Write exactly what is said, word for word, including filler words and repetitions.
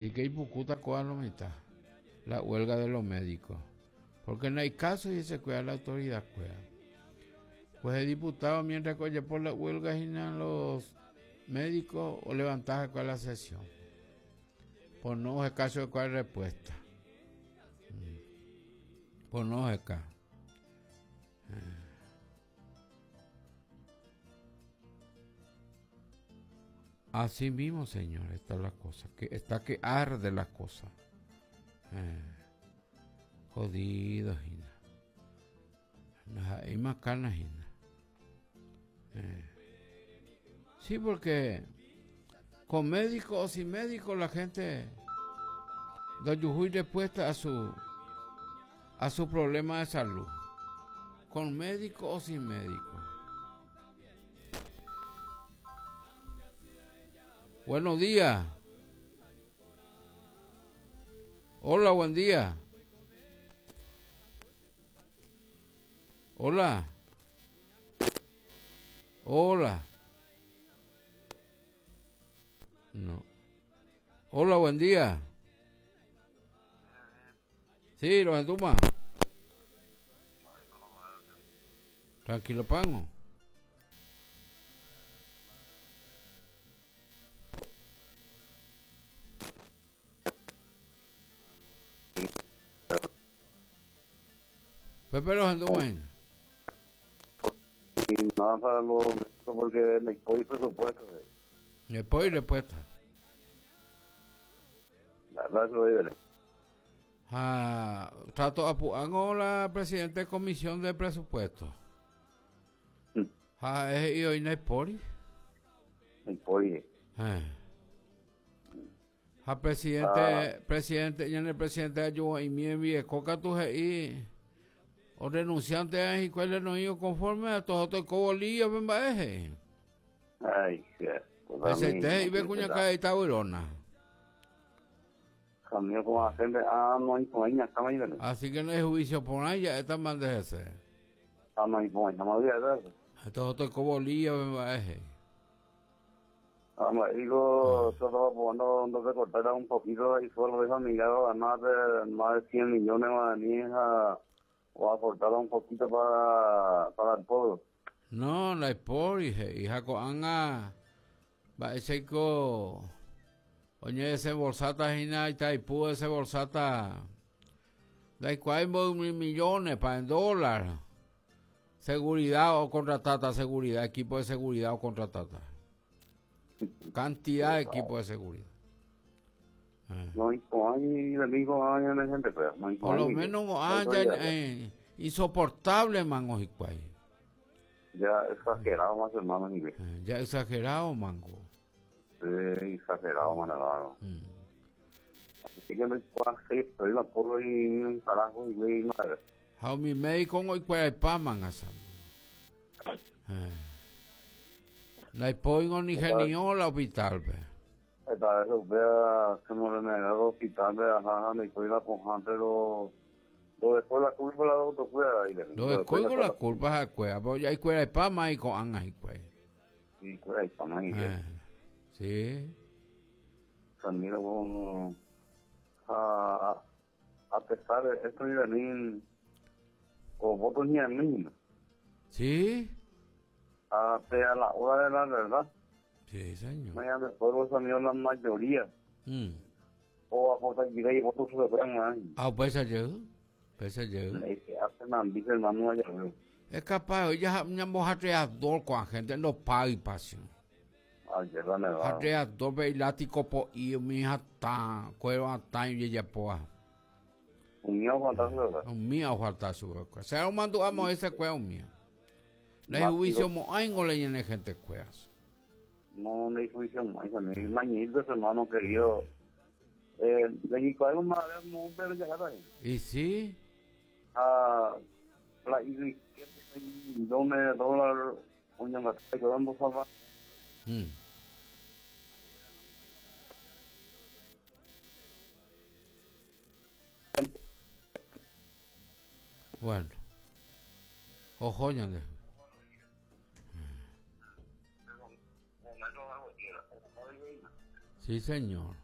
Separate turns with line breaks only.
Y que ipukuta ko'a lo mitad, la huelga de los médicos. Porque no hay caso y se cuida la autoridad cuida. Pues el diputado, mientras que oye por la huelga, los médicos o levantar la sesión. Por no es caso de cuál respuesta. Por no es caso. Así mismo, señor, está la cosa, que está que arde la cosa. Eh, jodido, Gina. Hay más canas, Gina. Eh. Sí, porque con médico o sin médico la gente da yujuy respuesta a su a su problema de salud. Con médico o sin médico. Buenos días. Hola, buen día. Hola. Hola. No. Hola, buen día. Sí, lo entuma. Tranquilo, pango. Pepe los anduven.
Nada para los porque me voy presupuesto.
Me voy respuesta.
La verdad lo digo.
Ah, trato apuango la presidente de comisión de presupuesto. Mm. Ah, es y hoy no hay pori.
No hay pori.
Eh. Ah, presidente, ah. presidente, ya el presidente ayuda y mi envíe coca tu y o renunciante a y cuál no ido conforme a todos otros cobolillos ven baje.
Ay, qué.
Ese te y ve cuña cae esta burona.
Camino con la gente, ah, no hay con ella, está mal.
Así que no hay juicio por ella, esta man de ese.
Ah, no hay con ella, no había eso.
Estos otros cobolillos ven baje.
Ah, me digo, solo cuando no se cortara un poquito y solo deja mirado a más de más de cien millones de hija. O aportar un poquito para, para el pueblo.
No, la por hija, hija coanga va ese co oye ese bolsata hina y taipu ese bolsata de cuál mil millones para en dólar. Seguridad o contratata seguridad, equipo de seguridad o contratata. Cantidad de equipo de seguridad.
No hay gente, pero no hay
por lo menos ah, ya, eh, insoportable, mango jicuay.
Ya exagerado más hermano nivel.
Eh, ya exagerado, mango.
Sí, exagerado, mango. Mm. Así que me estoy la porro y un carajo y güey madre.
How mi médico hoy cuál pa manga sa. Eh. La pongo ni genio la hospital, pe.
Esta vez vea se me el hospital de ajá, me estoy la pojante lo lo después la culpa la otro fuera y
lo después con la culpa a cueva, pero ya hay cueva de pama y con anga y cueva.
Y cueva de pama y
eh, sí.
También como a a pesar de esto y venir o votos ni a mí.
Sí.
A a la hora de la verdad.
Sí, señor.
Mañana después los amigos la mayoría.
Mm.
O a José y votos se fueran.
Ah, pues ayer. Pues ayer. Es capaz, ya ñamo jatreador con gente no paga y pasión.
Ayer la nevada.
Jatreador ve látigo po y mi jata, cuero hasta y ya poa.
Un mío falta su verdad.
Un mío falta su verdad. Se lo mando a ese cuero mío. Le juicio mo aingo le llene gente cueas.
No, no hay juicio más, mañito, hermano querido. Eh, de algo más, pero ya está.
¿Y sí?
Ah, la y millones de dólares, una batalla dando salva.
Mm. Bueno. Ojo, ya. Sí, señor.